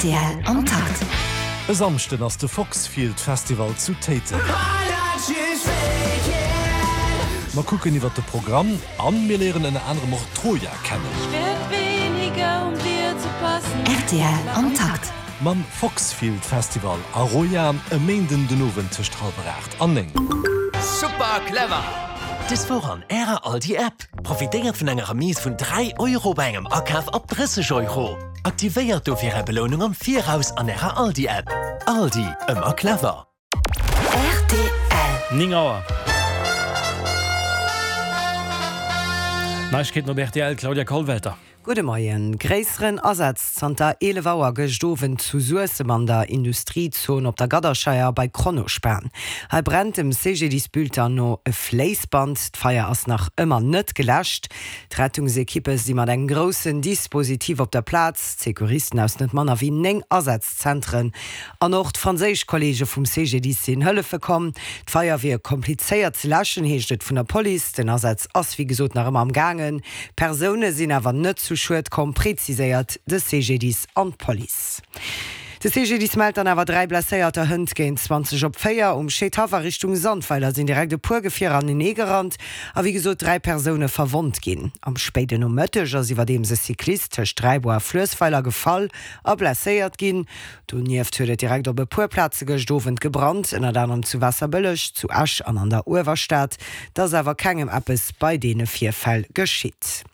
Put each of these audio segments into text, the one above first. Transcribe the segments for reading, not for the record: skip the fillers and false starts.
Rtl am Takt. E Samschden ass de Foxfield Festival zu Téiteng. Mer kucken iwwert de Programm an mir léieren ënner anerem och d'Troja kennen. Rtl am Takt. Mam Foxfield Festival a Roja e Méinden den Owend tëscht hallwer 8 an 9. Super clever! Des Woch an Ärer Aldi App, Profitéiert vun enger Remise vun 3 Euro bei engem Akaf ab 30 Euro. Aktivéiert dofir Är Belounung am Viraus an Ärer Aldi App. Aldi, ëmmer clever! Rtl. 9 Auer. Neiegkeeten op rtl, Claudia Kollwelter. Gudde Moien. Gréisseren Asaz zanter 11 Auer gëscht Owend zu Suessem an der Industriezon op der Gadderscheier bei Kronospan. Hei brennt dem CGDIS-Bulletin no e Fléissband. D'Feier ass nach ëmmer net geläscht. D'Rettungsekippe si mat engem groussen Dispositif op der Plaz. D'Secouristen aus net manner wéi 9 Asazzentren an och d'franséisch Kolleege vum CGDIS sinn hëllefe komm. D'Feier wier komplizéiert ze läschen, heescht et vun der Police. Den Asaz ass wéi gesot nach ëmmer am gaangen. Persoune sinn awer net zu Schued komm, preziséiert de CGDIS an d'Police. De CGDIS mellt dann awer 3 Blesséierter hënt géint 20 op 4. Um Scheedhaff a Richtung Sandweiler sinn direkt e puer Gefierer anenee gerannt a wéi gesot 3 Persoune verwonnt ginn. Am spéiden Nomëtteg ass iwwerdeems e Cyclist tëscht Dräibuer a Fluessweiler gefall a blesséiert ginn. Donieft huet et direkt op e puer Plaze gëscht Owend gebrannt, ënnert anerem zu Waasserbëlleg, zu Esch an an der Uewerstad. Et ass awer kengem eppes bei deene Virfäll geschitt.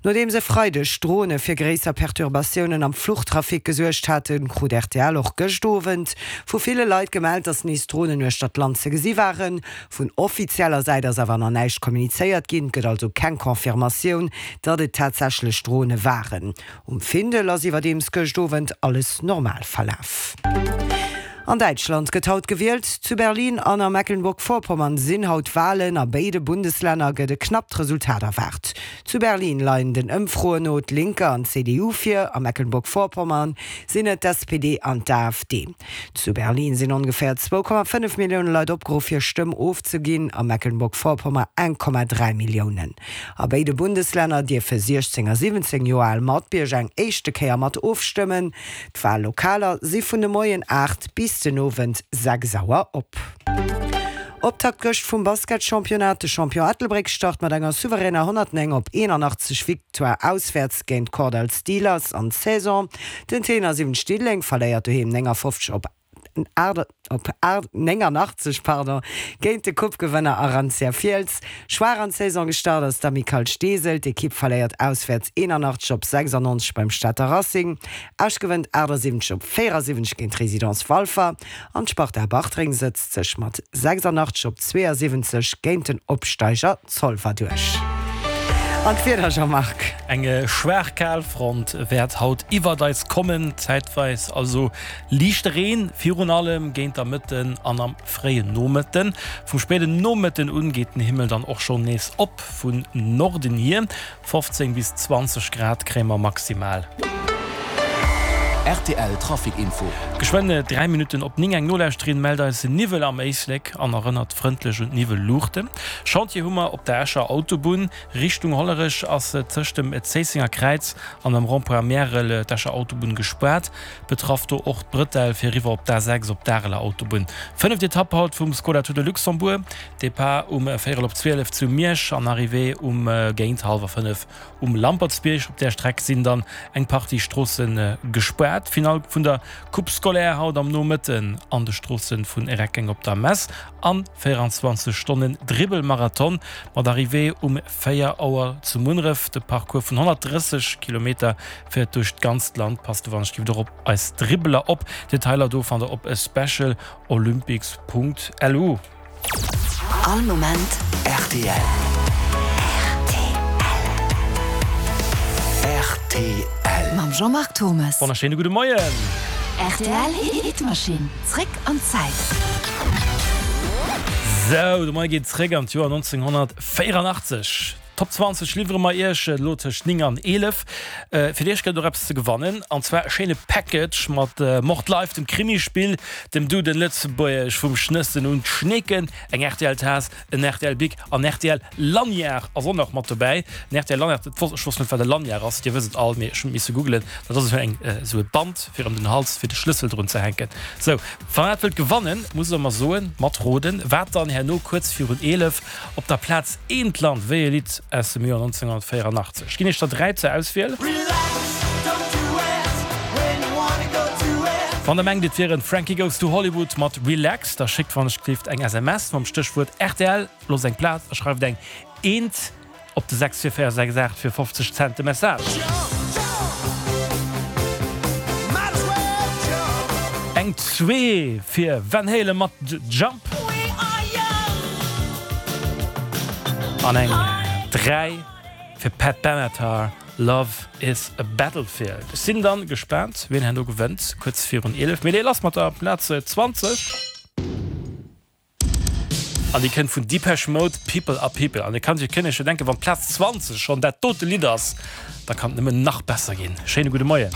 Nodeems e Freideg Drone fir gréisser Perturbatiounen am Fluchtrafic gesuergt haten, krut rtl och gëscht Owend vu ville Leit gemellt, dass nees Dronen uechter d'Land ze gesi waren. Vun offizieller Säit ass awer nach näischt kommunizéiert ginn, et gëtt also keng Confirmatioun, datt et tatsächlech Drone waren. Um Findel ass iwwerdeems gëscht Owend alles normal verlaf. An Däitschland gëtt haut gewielt. Zu Berlin an a Mecklenburg-Vorpommern sinn haut Walen. A béide Bundeslänner gëtt e knappt Resultat erwaart. Zu Berlin leien den Ëmfroen no d'Linke an d'CDU vir, a Mecklenburg-Vorpommern sinn et d'SPD an d'AfD. Zu Berlin sinn ongeféier 2,5 Millioune Leit opgeruff hir Stëmm ofzeginn, a Mecklenburg-Vorpommern 1,3 Milliounen. A béide Bundeslänner dierfe 16 a 17 Joer al Matbierger eng éischte Kéier mat ofstëmmen. D'Wallokaler si vun de Moien 8 bis den Owend 6 Auer op. Optakt gëscht vum Basketchampionnat, De Champion Ettelbréck start mat enger souveräner 109 op 81 Victoire auswäerts géint d'Kordall Steelers an d'Saison. Den Tenor 70 Diddeleng verléiert doheem 59 op op 89 pardon, géint de Coupe-Gewënner Arantia Fiels. Schwaach an d'Saison gestart ass d'Amicale Steesel. D'Ekipp verléiert auswäerts 81 op 96 beim Stater Racing. Esch gewënnt 78 op 74 géint d'Résidence Walfer an d'Sparta Bartreng sëtzt sech mat 86 op 72 géint den Opsteiger Zolwer duerch. An d'Wieder, Jean-Marc? Eng schwaach Kalfront wäert haut iwwert eis kommen, zäitweis also Liichte Reen, virun allem géint der Mëtten an am fréien Nomëtten. Vum spéiden Nomëtten un geet den Himmel dann och schonn nees op vun Norden hier. 15 bis 20 Grad kréie mer maximal. Rtl Trafic Info. Geschwënn 3 Minutten op 9. Eng Nolauschterin mellt eis Niwwel am Éislek an erënnert frëndlech un d'Niwwelluuchten. Chantier hu mer op der Escher Autobunn. Richtung Hollerech ass tëscht dem Zéissenger Kräiz an dem Rond-point Märel d'Escher Autobunn gespaart. Betraff do och d'Brëtell fir eriwwer op d'A6 op d'Areler Autobunn. Fënneft Etapp haut vum Skoda Tour de Luxembourg. Depart um véierel op 12 zu Miersch an Arrivée um géint hallwer 5 um Lampertsbierg. Op där Streck sinn dann eng Partie Stroosse gespaart. Finall vun der Coupe scolaire haut am Nomëtten an de Stroosse vun Reckeng op der Mess an 24 Stonnen Dribbelmarathon mat Arrivée um 4 Auer zu Munneref. De Parcours vun 130 Kilometer féiert duerch d'ganzt Land. Passt wann ech giff och op eis Dribbeler op. Detailer do fannt der op specialolympics.lu. All Moment rtl. Rtl. Mam Jean-Marc Thommes. Wonnerschéine gudde Moien. Rtl Hitmaschinn, zréck an d'Zäit. Sou, de Moie geet zréck an d'Joer 1984. D'Top 20 liwwere mer Iech elo tëscht 9 an 11. Fir Iech gëtt et och eppes ze gewannen, an zwar e schéine Package mat Mord Live, dem Krimispill, dem Duden Lëtzebuergesch vum Schnëssen un d'Schneeken, eng RTL-Taass, en RTL-Bic an RTL Lanyard ass och nach mat dobäi. En RTL Lanyard, dat wosst, ech wosst net wat e Lanyard ass, dir wësst et all, mee ech hunn et misse googelen, dat ass esou eng, esou e Band fir ëm den Hals fir de Schlëssel drun ze hänken. Sou, wann der dat wëllt gewannen, musst der mer soen, matroden, wat dann herno kuerz virun 11 op der Plaz eent lant, wéi e Lidd aus dem Joer 1984. Ech ginn iech der 3 zur Auswiel. Wann der mengt et wier en Frankie Goes to Hollywood mat Relax, da schéckt wann ech gleeft eng SMS mam Stéchwuert rtl, loosst eng Plaz a schreift eng Eent op de 64468 fir 50 Cent de Message. Eng 2 fir Van Halen mat Jump. An eng 3 fir Pat Benatar, Love is a Battlefield. Ech sinn dann gespaant wien herno gewënnt, kuerz virun 11. Mee lass mat der Plaz 20. An déi kënnt vun Depeche Mode, People Are People. An et kann sech kënne scho denken, wann d'Plaz 20 schonn dat dote Lidd ass, da kann et nëmmen nach besser ginn. Schéine gudde Moien.